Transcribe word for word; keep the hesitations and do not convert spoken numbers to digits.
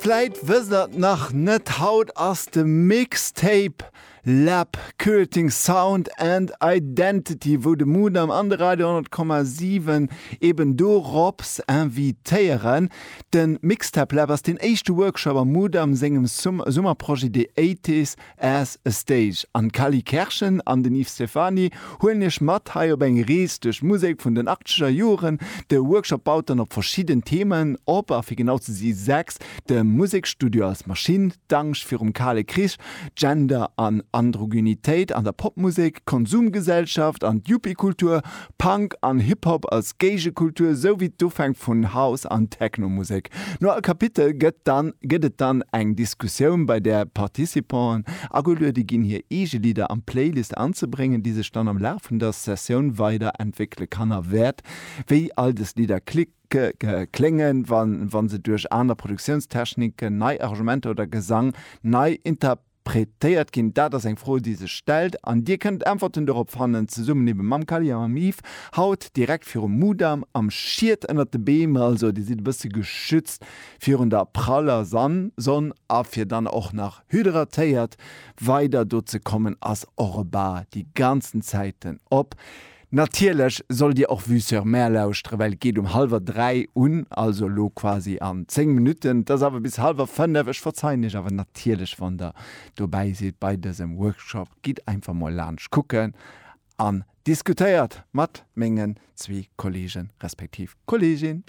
Vläit wësst der et nach net, haut ass de Mixtape Lab Curating Sound and Identity, wou de Mudam an de Radio honnert Komma siwen eben dorops invitéieren. De Mixtape Lab ass deen éischte Workshop am Mudam sengem Summerprojet The Eighties as a Stage. An d'Cally Kerschen an den Yves Stephany huelen iech mat hei op eng Rees duerch d'Musek vun den achtzeger Joren. De Workshop baut dann op verschidden Themen op, a fir genau ze si sechs, de Musekstudio als Maschinn, d'Angscht virum Kale Krich, Gender an Androgynitéit an der Popmusek, Konsumgesellschaft an d'Yuppie-Kultur, Punk an Hip-Hop als Géigekultur, sou wéi d'Ufänk vun House an Techno-Musek. No all Kapitel gëtt dann gëtt et dann eng Diskussioun, bei där d'Participanten ageluede ginn, hir eege Lidder an d'Playlist anzebréngen, déi sech dann am Laf vun der Sessioun weider entwéckele kann a wäert. Wéi all dës Lidder kléngen, wa se duerch aner Produktiounstechniken, nei Arrangementer oder Gesang nei interpretéiert ginn, dat ass eng Fro, déi sech stellt. An Dir kënnt Äntwerten dorop fannen, zesummen ebe mam Kally a mam Yves, haut direkt virum Mudam am Schiet ënnert de Beem. Also Dir sidd e bësse geschützt virun der praller Sonn a fir dann och nach hydratéiert weider do ze kommen, ass och e Bar déi ganzen Zäiten op. Natierlech sollt dir och Vue sur Mer lauschteren, well et geet um hallwer dräi un, also elo quasi an zéng Minutten. Et ass awer bis hallwer fënnef. Ech verzeien iech awer natierlech, wann der dobäi sidd bei dësem Workshop. Gitt einfach mol laanscht kucken an diskutéiert mat mengen zwee Kollegen respektiv Kollegin.